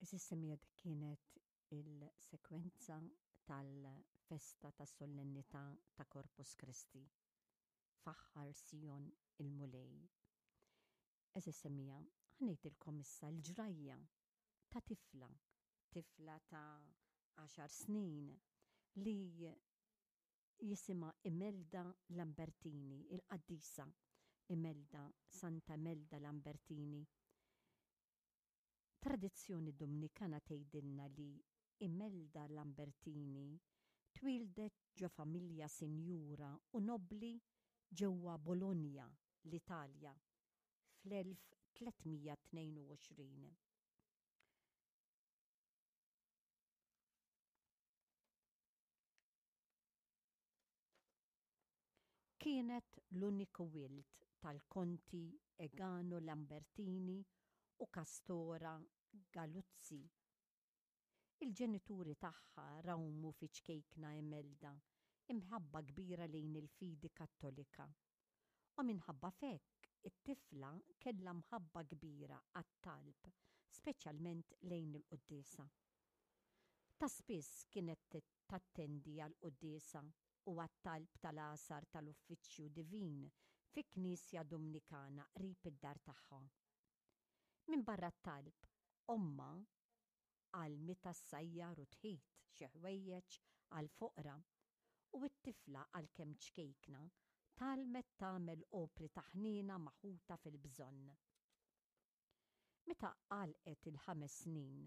Għeżież semmiegħa dik kienet il-sekwenza tal-festa tas-Solennità ta' Corpus Christi. Faħħar Sion il-Mulej. Għeżież semmiegħa, ħa ngħidilkom issa l-ġrajja ta' tifla, tifla ta' għaxar snin li jisimha Imelda Lambertini, il-qaddisa Imelda, Santa Imelda Lambertini. Tradizzjoni Dumnikana tgħidilna li Imelda Lambertini twieldet ġo familja sinjura u nobbli ġewwa Bologna, l-Italja, fl-1322. Kienet l-uniku wild tal-Konti Egano Lambertini u Castora Galuzzi. Il-ġenituri tagħha rawmu fi ċkejkna Imelda imħabba kbira lejn il-fidi Kattolika. U minħabba f'hekk it-tifla kellha mħabba kbira għat-talb, speċjalment lejn il-quddiesa. Ta' spiss kienet tattendi għall-quddiesa u għat-talb tal-għasar tal-Uffiċċju Divin fi knisja Dumnikana qrib id-dar tagħha. Minbarra t-talb, ommha għallmitha ssajjar u tħit xi ħwejjeġ għall-foqra u t-tifla għalkemm ċkejkna tgħallmet tagħmel opri ta' ħniena ma' ħutha fil-bżonn. Meta għalqet il-ħames snin.